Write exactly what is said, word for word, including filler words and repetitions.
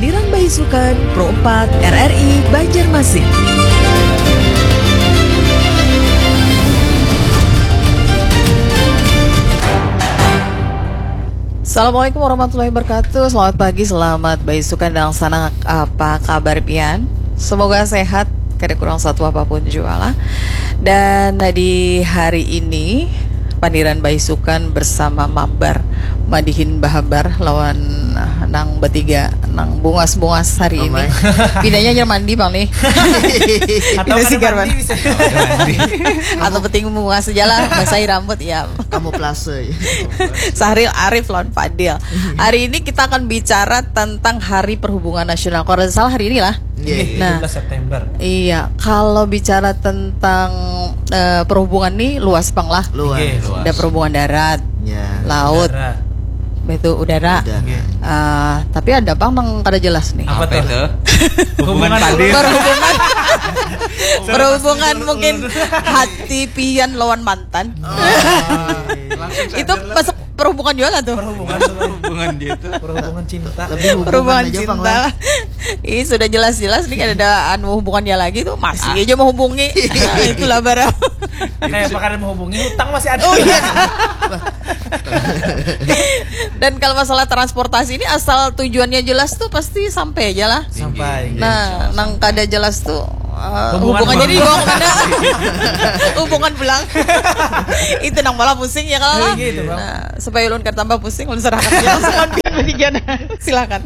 Pandiran Baisukan, Pro empat, R R I, Banjarmasin. Assalamualaikum warahmatullahi wabarakatuh. Selamat pagi, selamat baisukan, dan sanak, apa kabar pian? Semoga sehat, kada kurang satu apapun jua lah. Dan di hari ini, Pandiran Baisukan bersama Mabar, Madihin Bahabar lawan, ah, nang batiga, nang bungas-bungas hari ini. Amai. Pindahnya hanyar mandi, Bang, nih. Atau Pindah kada sigar, mandi Bang. Bisa. Atau penting bungas aja lah, basahi rambut, ya. Kamuflase. Sahril Arif lawan Fadil. Hari ini kita akan bicara tentang Hari Perhubungan Nasional. Kalau tidak salah hari ini lah. Iya, iya. Nah, tujuh belas September. Iya, kalau bicara tentang, eh, perhubungan nih luas pang lah. Luas. Iya, luas. Ada perhubungan darat, ya, laut, udara. Betul, udara. Udara. Iya. Ah, tapi ada pang nang kada jelas nih. Apa tuh? Hubungan Hubungan Fadil. Perhubungan. Perhubungan mungkin hati pian lawan mantan. Oh. Itu masuk perhubungan juga lah tuh. Perhubungan. Hubungan dia tuh. Perhubungan cinta. Lebih hubungan Perhubungan aja, Bang, cinta lah. Ih, sudah jelas-jelas nih, kada ada anu hubungannya lagi tuh, masih aja menghubungi. Nah, itulah barang. Kayak apa kada menghubungi, hutang masih ada. Oh, iya. Dan kalau masalah transportasi ini, asal tujuannya jelas tuh pasti sampai aja lah. Sampai. Nah, nang kada jelas tuh, eh, hubungan hubungannya di bawah mana? Hubungan pulang. Itu nang malah pusing ya kalau. Oh, gitu, Bang. Nah, supaya ulun kada tambah pusing, ulun serahkan aja langsung pian batiga. Silakan.